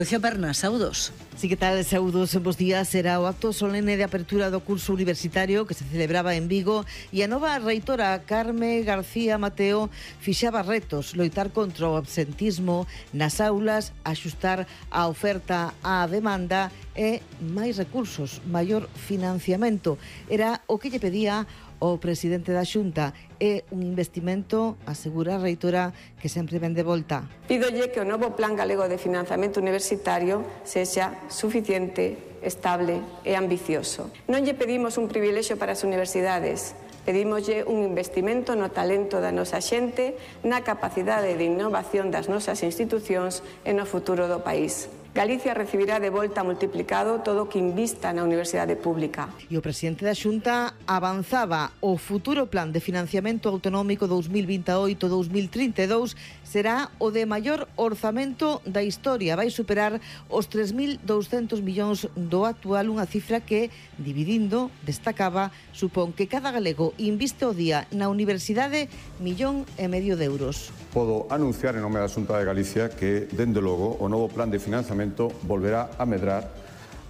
Lucia Berna, saúdos. Sí, que tal, saúdos, bos días. Será o acto solene de apertura do curso universitario que se celebraba en Vigo e a nova reitora Carme García Mateo fixaba retos: loitar contra o absentismo nas aulas, axustar a oferta á demanda e máis recursos, maior financiamento. Era o que lle pedía o presidente da Xunta, é un investimento, asegura a reitora, que sempre ven de volta. Pídolle que o novo Plan Galego de Financiamento Universitario sexa suficiente, estable e ambicioso. Non lle pedimos un privilexio para as universidades, pedímoslle un investimento no talento da nosa xente, na capacidade de innovación das nosas institucións e no futuro do país. Galicia recibirá de volta multiplicado todo o que invista na universidade pública. E o presidente da Xunta avanzaba: o futuro plan de financiamento autonómico 2028-2032 será o de maior orzamento da historia. Vai superar os 3.200 millóns do actual, unha cifra que, dividindo, destacaba, supón que cada galego inviste o día na universidade 1,5 millón de euros. Podo anunciar en nome da Xunta de Galicia que, dende logo, o novo plan de financiamento volverá a medrar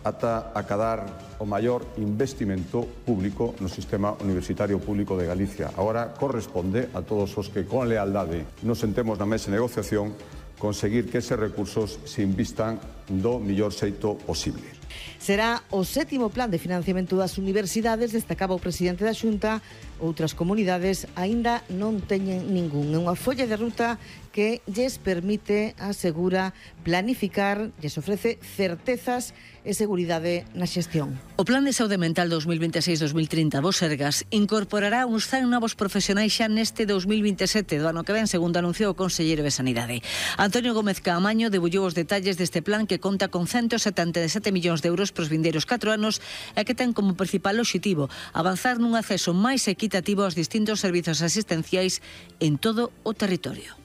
ata acadar o maior investimento público no sistema universitario público de Galicia. Agora corresponde a todos os que con lealdade nos sentemos na mesa de negociación conseguir que eses recursos se invistan do mellor xeito posible. Será o 7º plan de financiamento das universidades, destacaba o presidente da Xunta. Outras comunidades aínda non teñen ningún. É unha folla de ruta que lles permite, asegura, planificar, lles ofrece certezas e seguridade na xestión. O Plan de Saúde Mental 2026-2030 do Sergas incorporará uns 100 novos profesionais xa neste 2027 do ano que ven, segundo anunciou o conselleiro de Sanidade. Antonio Gómez Caamaño debullou os detalles deste plan que conta con 177 millóns de euros pros vindeiros 4 anos e que ten como principal obxectivo avanzar nun acceso máis equitativo aos distintos servizos asistenciais en todo o territorio.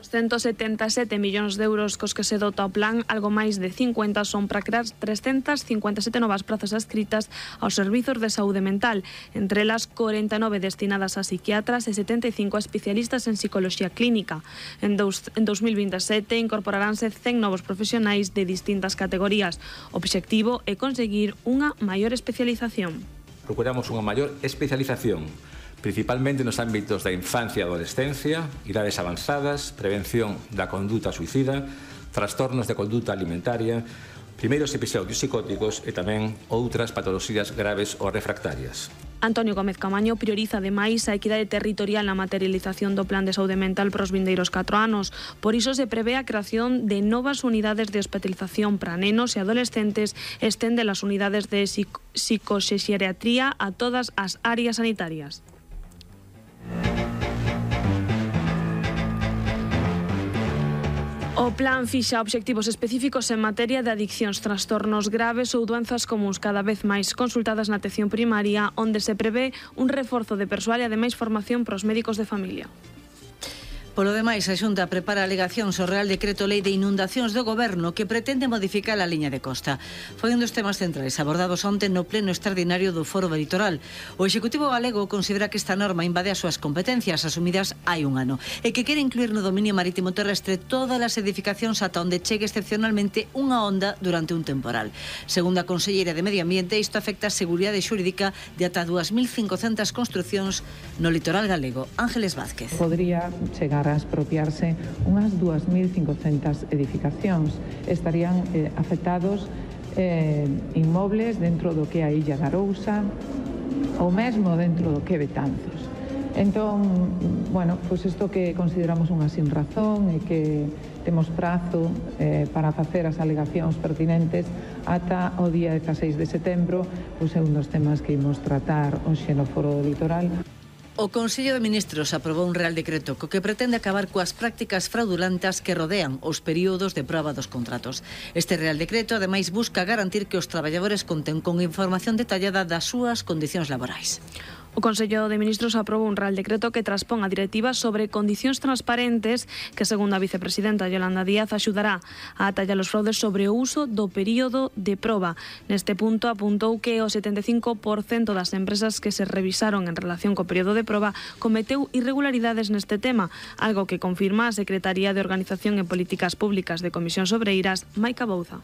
177 millóns de euros cos que se dota o plan, algo máis de 50 son para crear 357 novas prazas adscritas aos servizos de saúde mental, entre elas 49 destinadas a psiquiatras e 75 a especialistas en psicoloxía clínica. En 2027 incorporaránse 100 novos profesionais de distintas categorías. O obxectivo é conseguir unha maior especialización. Procuramos unha maior especialización, principalmente nos ámbitos da infancia e adolescencia, idades avanzadas, prevención da conduta suicida, trastornos de conduta alimentaria, primeiros episodios psicóticos e tamén outras patoloxías graves ou refractarias. Antonio Gómez Caamaño prioriza ademais a equidade territorial na materialización do Plan de Saúde Mental para os vindeiros 4 anos. Por iso se prevé a creación de novas unidades de hospitalización para nenos e adolescentes e estende as unidades de psicoxeriatría a todas as áreas sanitarias. O plan fixa obxectivos específicos en materia de adiccións, trastornos graves ou doenzas comuns cada vez máis consultadas na atención primaria, onde se prevé un reforzo de persoal e ademais formación para os médicos de familia. Polo demais, a Xunta prepara alegacións ao Real Decreto Lei de Inundacións do Goberno que pretende modificar a liña de costa. Foi un dos temas centrais abordados onte no pleno extraordinario do Foro Litoral. O Executivo galego considera que esta norma invade as súas competencias asumidas hai un ano e que quere incluir no dominio marítimo terrestre todas as edificacións ata onde chegue excepcionalmente unha onda durante un temporal. Segundo a conselleira de Medio Ambiente, isto afecta a seguridade xurídica de ata 2.500 construcións no litoral galego. Ángeles Vázquez. Podría chegar a expropiarse unhas 2.500 edificacións. Estarían afectados inmobles dentro do que é a Illa de Arousa ou mesmo dentro do que é Betanzos. Entón, bueno, pois isto que consideramos unha sin razón e que temos prazo para facer as alegacións pertinentes ata o día 16 de setembro, pois é un dos temas que imos tratar hoxe no Foro do Litoral. O Consello de Ministros aprobou un Real Decreto co que pretende acabar coas prácticas fraudulentas que rodean os períodos de proba dos contratos. Este Real Decreto, ademais, busca garantir que os traballadores conten con información detallada das súas condicións laborais. O Consello de Ministros aprobou un Real Decreto que transpón a directiva sobre condicións transparentes que, segundo a vicepresidenta Yolanda Díaz, axudará a atallar os fraudes sobre o uso do período de proba. Neste punto apuntou que o 75% das empresas que se revisaron en relación co período de proba cometeu irregularidades neste tema, algo que confirma a Secretaría de Organización e Políticas Públicas de Comisións Obreiras, Maica Bouza.